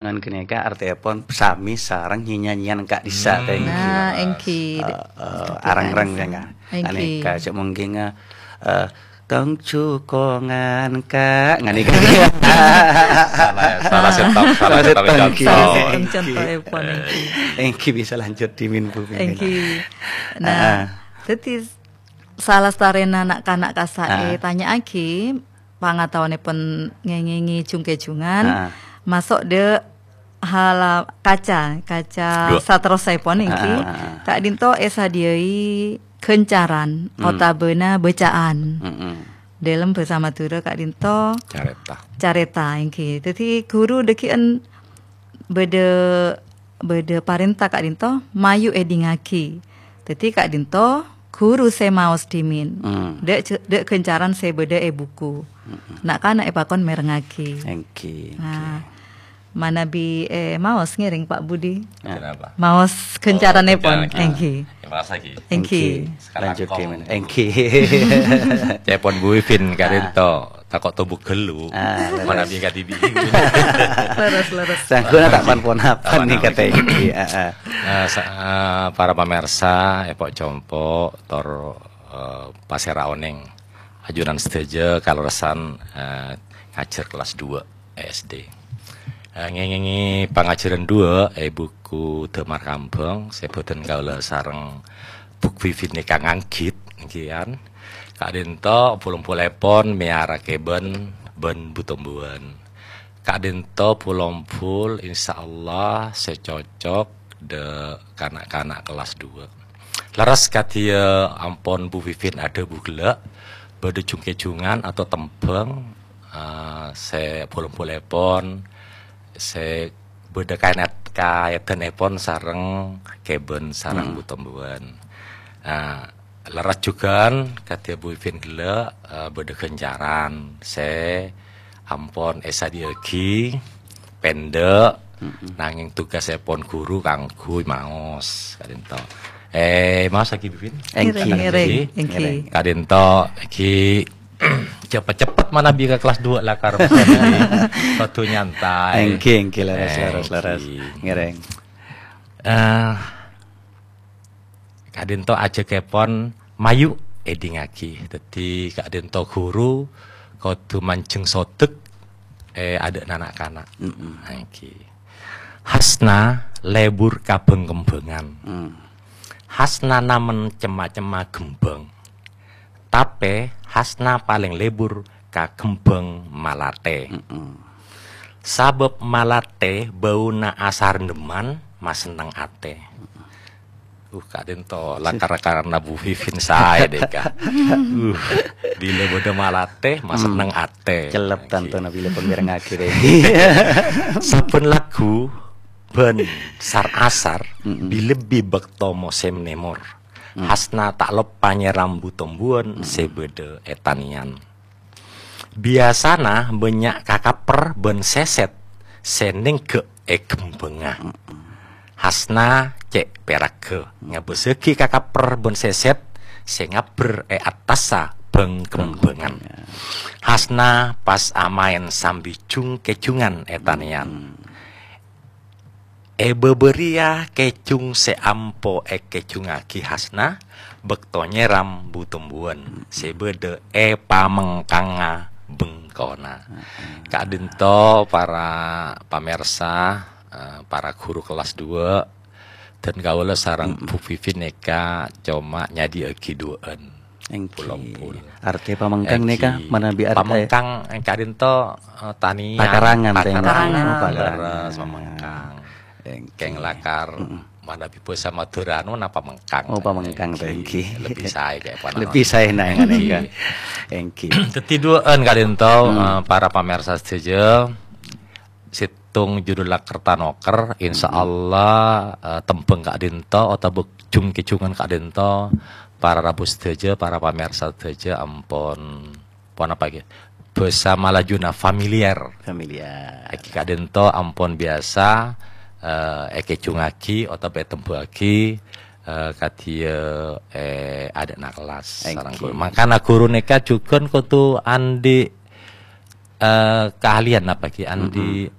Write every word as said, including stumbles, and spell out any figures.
Ngan ghânèka artèèpon samè sareng nyanyi-nyanyian ka'dhissa', Hmm. thank you. Nah, èngghi. Eh, eh, Ka'dhissa'. areng-reng, ya, Kak? Èngghi. Ghânèka, cè' mungkin, eh, eh, "Tong jukongan, Kak." Ghânèka. Salah, salah settong, salah Salah settong, settong, èngghi. contoh. Salah settong contoh, èpon, èngghi. Èngghi, bisa lanjut, Dimin, Bu, Dimin. Èngghi. Nah, Ah. dhâddhi salastarèna na'-kana' kassa' Ah. ètanya'aghi, pangataowanèpon ngèngèngè jung-kèjungan, Ah. maso' dâ' hala-, kaca, kaca Dua. saterrosèpon èngghi. Ah, ah, ah. Ka'dhinto èsadhiyâi ghâncaran Hmm. otabâna bâca'an. Mm-mm. Dâlem bhâsa Madhurâ ka'dhinto Carèta. carèta èngghi. Dhâddhi ghuru dhâggi'ân bâdâ, bâdâ parènta ka'dhinto mayu èdingngaghi. Dhâddhi ka'dhinto ghuru sè maos Dimin. Hmm. Dâ' jâ-, dâ' ghâncaran sè bâdâ è buku. Mm-mm. Na'-kana' èpakon mèrengngaghi. Èngghi, Nah, èngghi. manabi, eh, maos ngèrèng, Pak Budi. Kenapa? Maos Oh, ghâncaranèpon, ghâncaran, èngghi. Ya, maos lagi. Èngghi. Èngghi. Sekarang Lanjut, kong. Dimin. Èngghi. Cèpon Bu Wifin, Ah. ka'dhinto. Tako' tobuk ghâllu. Ah, leres. Manabi kadhibi'. Leres, leres. Sangguna ta' pan-ponapan Aman, nih aman. kata ini. Ah, ah. Eh, sa-, eh, para pamirsa, èpo' compo', tor, eh, pasèra onèng. Ajunan sadhâjâ kalerressan, eh, ngajhâr kellas dua S D. Eh, ngèngèngè pangajhârân dua è buku Damar Kambhâng sè bhâdhân kaulâ sareng Bu Wifin nèka nganggit, èngghi, kan. Ka'dhinto pol-ompolèpon mèyara kèbân bân bu-tombuwân. Ka'dhinto pol-ompol, insyaallah, sè cocok dâ' kana'-kana' kellas dua. Lerres kadhiyâ ampon Bu Wifin adhâbu ghellâ', bâdâ jung-kèjungan atau tembhâng, eh, sè pol-ompolèpon, sè bâdâ kaènat-, kaèdhânèpon sareng kèbân sareng Hmm. bu-tombuwân. Eh, lerres jhughân kadhiyâ Bu Wifin ghellâ', eh, bâdâ ghâncaran sè ampon èsadhiyâaghi, pendek, Mm-mm. nangèng tugasèpon ghuru kaangghuy maos, ka'dhinto. Eh, maos lagi, Bibin? Èngghi. Ngèrèng, ngèrèng. Èngghi. Èngghi. Ka'dhinto, èngghi, cepet-cepet manabi ka kelas dua lakar. Kodhu nyantai. Èngghi, èngghi, leres, leres, leres. Èngghi. Ngèrèng. Eh, Ka'dhinto ajhâkèpon mayu èdingngaghi. Dhâddhi ka'dhinto ghuru kodhu manjheng sodek è adâ'na na'-kana'. Mm-mm. Èngghi. Hasna lebur ka bhâng-kembhângan. Mm. Hasna namen cem-macemma kembhâng. Tapè Hasna palèng lebur ka kembhâng malatè. Mm-mm. Sabâb malatè bâuna asarendheman masenneng atè. Uh, ka'dhinto lakar-lakarna Bu Wifin saè, dèka. Uh, bilâ bâdâ malatè, masenneng Hmm. atè. Cellep Oke. tantona bilâ pon mèrengngaghi, dèka. Sabbhân lagghu bân sar-asar Mm-mm. bilebbi bâkto mosèm nèmor. Hmm. Hasna ta' loppa nyèram bu-tombuwân Hmm. sè bâdâ è tanèyan. Biyasana bânnya' kakapper bân sèsèt sè nèngghâ' è kembhângnga. Mm-mm. Hasna cè' pèragghâ ngabâssaghi kakapper bân sèsèt sè ngabbher è attassa bhâng-kembhângan. Bhâng-kembhângan. Hasna pas amaèn sambi jung-kèjungan è tanèyan. Mm-mm. È bâbâ rèya kèjung sè ampo èkèjungngaghi Hasna bâkto nyèram bu-tombuwân sè bâdâ è pamengkangnga bengkona. Heeh. Ka'dhinto para pamirsa, eh, para ghuru kelas dua, dan kaulâ sareng Mm-mm. Bu Vivi nèka coma nyadhi'âghi duwâ'ân. Èngghi. Pol-ompol. Artè pamengkang nèka Èngghi. manabi artè Pamengkang èngkadhinto, eh, tanèyan. Pakarangan, tèng. Pakarangan. Oh, pakarangan. Leres, pamengkang. Èngghi. Kèng lakar Mm-mm. manabi bhâsa Madhurâ anu napa mengkang. Oh, pamengkang, Èngghi. Èngghi. Lebbi saè kèya panana. Lebbi saè nang Èngghi. nèka. Èngghi. Dhâddhi duwâ'ân ka'dhinto, Hmm. eh, para pamirsa sadhâjâ. Sèttong judhulla Kertanoker, insya Mm-mm. Allah, eh, tembhâng ka'dhinto otabâ jung-kèjungan ka'dhinto, para rabu sadhâjâ, para pamirsa sadhâjâ ampon, ponapa ghi? Bhâsa Malajuna familiar. Familiar. Èngghi ka'dhinto ampon biyasa, eh, èkèjungngaghi otabâ ètembhâ'âghi, eh, kadhiyâ, eh, adâ'na kellas Èngghi. sareng ghuru. Mangkana ghuru nèka jhughân kodhu andi' eh, keahlian napa ghi? Andi' Mm-mm.